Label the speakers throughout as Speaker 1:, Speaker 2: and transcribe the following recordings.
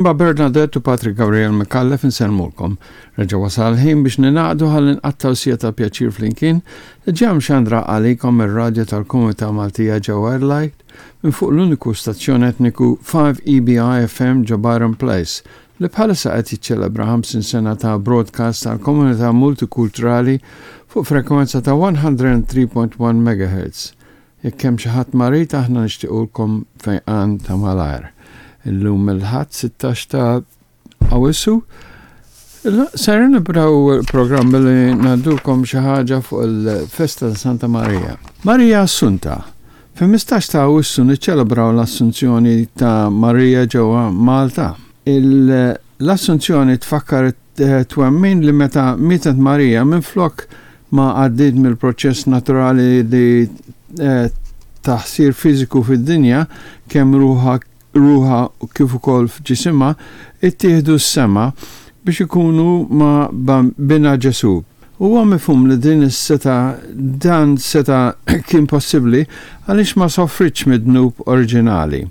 Speaker 1: Ma' Bernadette u Patrick Gabriel Micallef insellmulkom. Reġa' wasal il-ħin biex ningħaqdu ħalli nqattgħu siegħa ta' pjaċir flimkien li ġa mxandra għalikom mir-radju tal-Komunità Maltija ġewwa Adelaide minn fuq l-uniku stazzjon etniku 5EBI FM ġo Byron Place li bħalissa qed jiċċelebra 50 sena ta' broadcast għall-komunità multikulturali fuq frekwenza ta' 103.1 MHz. Jekk hemm xi ħadd marid aħna nixtiequlkom fejqan ta' malajr. Illum il-Ħadd 16 ta' Awwissu. Ser nibdew il-programm billi ngħaddulkom xi ħaġa fuq il-festa ta' Santa Marija. Marija Assunta. Fil-15 ta' Awwissu niċċelebraw l-Assunzjoni ta' Marija ġewwa Malta. L-Assunzjoni tfakkar Twemmin li meta mietet Marija minflok ma għaddiet mill-proċess naturali li ta' ħsir fiżiku fid-dinja, kemm ruħha ruħha kif ukoll f'ġisimha, ittieħdu s-sema biex ikunu ma' Binha Ġesù. Huwa mifhum li din is-setgħa dan seta' kien possibbli għaliex ma sofritx mid-dnub oriġinali.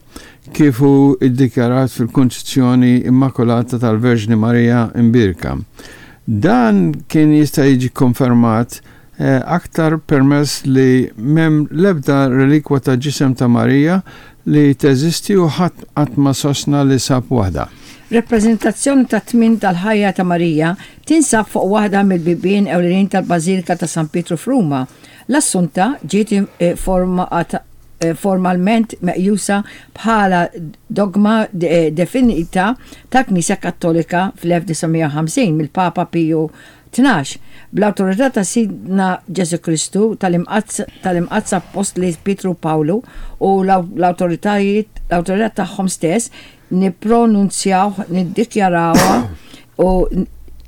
Speaker 1: kif hu ddikjarat fil-Kunċizzjoni Immakulata tal-Verġni Marija Imbierka. Dan kien jista' jiġi kkonfermat aktar permess li m'hemm l-ebda relikwa ta' ġisem ta' Marija li teżisti u ħadd qatt ma sostna li sab waħda.
Speaker 2: Rappreżentazzjoni tat-tmiem tal-ħajja ta' Marija tinsab fuq waħda mill-bibien ewlenin tal-Bażilika ta' San Pietru f'Ruma. L-Assunta ġiet formalment meqjusa bħala dogma definita tal-Knisja Kattolika fl-1950 mill-Papa Piju Tnax, bl-awtorità ta' Sidna Ġesù Kristu, tal-Imqaddsa Appostli Pietru u Pawlu u l-awtoritajiet l-awtorità tagħhom stess, nippronunzjawh, niddikjarawha u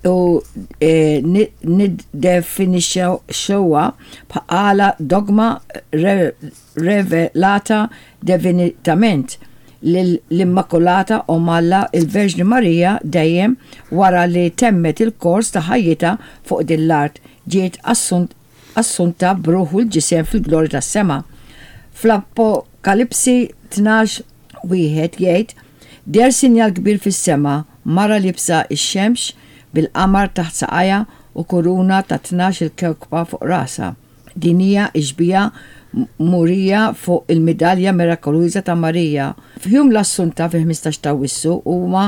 Speaker 2: u niddefinixxuha bħala dogma revelata divinitament lill-Immakulata Omm Alla il-Verġni Marija dejjem wara li temmet il-kors ta' ħajjitha fuq din l-art ġiet assunta b'ruħ u l-ġisem fil-glorja tas-sema. Fl-Apokalipsi 12 Wieħed jgħid, Deher sinjal kbir fis-sema, mara liebsa x-xemx, bil-qamar taħt saqajha u kuruna ta' 12 il-kewkba fuq rasha. Din hija x-xbieha murija fuq il-midalja mirakoluża ta' Marija. F'Jum l-Assunta fil-15 t'Awwissu huwa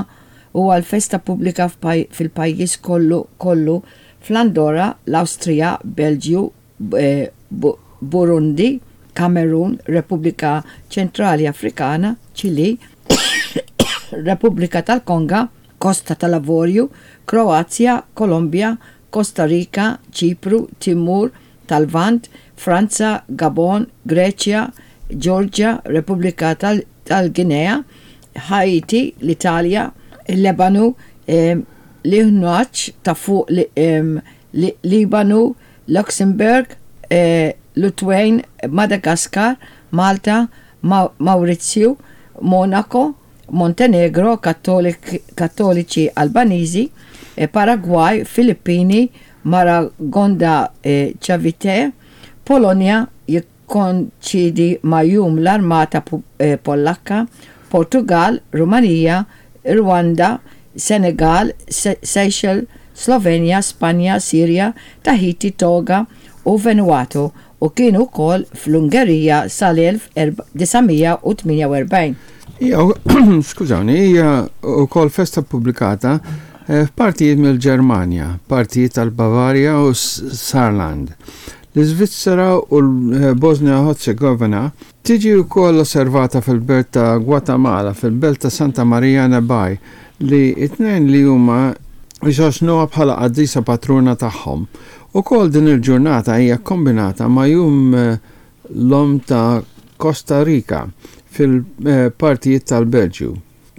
Speaker 2: huwa l-festa pubblika fil-pajjiż kollu kollu fl-Andorra, l-Awstrija, Belġju, Burundi, Kamerun, Repubblika Ċentrali Afrikana, Ċilì, Repubblika tal-Konga, Kosta tal-Avorju, Kroazja, Kolombja, Kosta Rika, Ċipru, Timur tal-Lvant, Franza, Gabon, Greċja, Ġeorġja, Repubblika tal-Ginea, Ħaiti, l-Italja, il-Lebanu, l-Iħnuaċ ta' Fuq Libanu, Luxembourg, Lutwain, Madagascar, Malta, Mawrizju, Monaco, Montenegro, Kattoliċi Albaniżi, Paragwaj, Filippini, Maragonda Cavite, Polonja, jikkoinċidi ma' Jum l-Armata Pollakka, Portugall, Rumanija, Rwanda, Senegal, Seychelles, Slovenja, Spanja, Sirja, Tahiti, Toga u Vanuatu u kienu wkoll fl-Ungerija sal-1948.
Speaker 1: Hija, skużawni, hija wkoll festa ppubblikata f'partijiet mill-Ġermanja, partijiet tal-Bavarja u s-Saarland. L-Iżvizzera u l-Bożnja-Ħerzegovina tiġi wkoll osservata fil-belt ta' Gwatemala fil-belt ta' Santa Maria Nebaj li t-tnejn li huma jsostnuha bħala qaddisa patruna tagħhom. Ukoll din il-ġurnata hija kkombinata ma' Jum l-Omm ta' Costa Rica fil-partijiet tal-Belġju.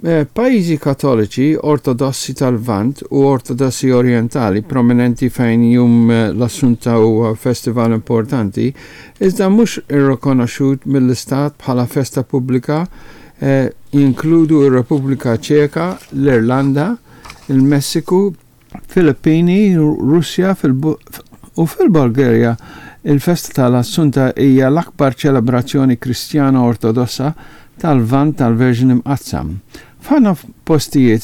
Speaker 1: Pajjiżi Kattoliċi, Ortodossi tal-Lvant u Ortodossi Orjentali prominenti fejn Jum l-Assunta huwa festival importanti, iżda mhux irrikonoxxut mill-istat bħala festa pubblika, jinkludu r-Repubblika Ċeka, l-Irlanda, il-Messiku, Filippini, Russja u fil-Bulgarja il-festa tal-Assunta hija l-akbar ċelebrazzjoni Kristjana Ortodossa tal-Lvant tal-Verġni Mqaddsa. F'ħafna postijiet.